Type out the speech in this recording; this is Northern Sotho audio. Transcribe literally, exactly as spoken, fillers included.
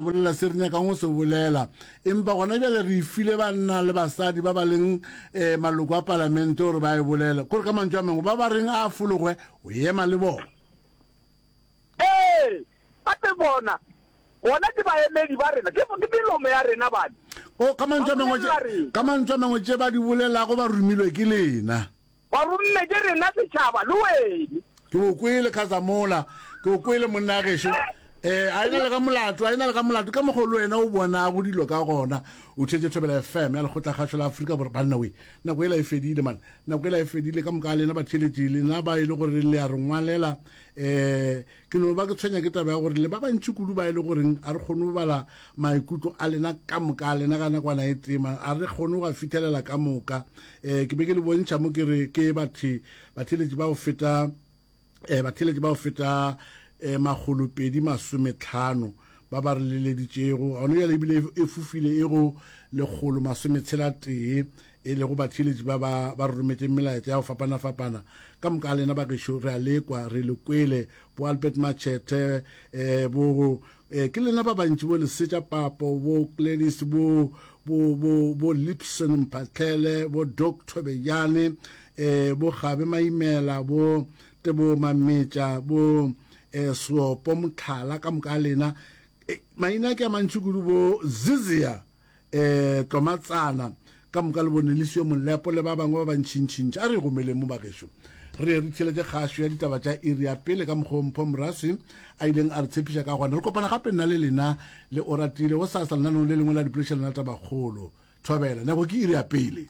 Bolela se re nyakang go se bolela. Empa gona bjale re e file banna le basadi ba ba leng um maloko a palamente gore ba e bolele. Kore ka mantšu a mangwe, ba ba reng a fologwe, o ema le bona. Ee, gape bona, bona ke baemedi ba rena, ke, ke melomo ya rena bane. O, ka mantšu a Ba mangwe, bolelela rena. ka mantšu a mangwe tše ba di bolelago ba romilwe ke lena. Ba romme ke rena setšhaba le wene. Ke o kwele Khazamola, ke o kwele monna gešo. Eh, a ena le ka molato, a ena le ka molato ka mokgwa le wena o bonago dilo ka gona. O tšhetše Thobela F M ya Lekgotlakgašo la Afrika Borwa. Banna we, nako ela e fedile man. Nako ela e fedile ka moka lena batheeletši, lena ba e le gore le a re ngwalela. Eh, ke no ba ke tshwenya ke taba ya gore le ba bantši kudu ba e le goreng a re kgone go bala maikutlo a lena ka moka a lena ka nakwana e tee man. A re kgone go a fithelela ka moka. Eh, ke be ke le bontšha mo ke re ke bathe batheeletši ba go feta eh batheeletši ba go feta eh makgolopedi masometlhano ba ba re leleditšego gona bjale ebile e fofile e go lekgolo masometshela tee e lego batheeletši ba ba ba re rometšeng melaetša ya go fapana-fapana ka moka a lena ba gešo re a lekwa re le kwele bo Albert Machete eh bo eh ke lena ba bantši bo Lesetša Papo bo Gladys bo bo bo bo Lipson Mphatlele bo Doc Thobejane eh bo Gabe Maimela bo Tebo Mametša bo eh Seopo Motlhala ka moka a lena eh, maina ke a mantši kudu bo Zizia eh Tlomatsana ka moka le bone Lisio Molepo le ba bangwe ba bantšintšintši a re gomeleng mo bagešo re re theletše kgašo ya ditaba tša iri ya pele ka mokgwa Mpho Moraswi a ileng a re tshepiša ka gona re kopana gape nna le lena le Oratile go sasa lenanong le lengwe la dipoledišano la tabakgolo. Thobela nako ke iri ya pele.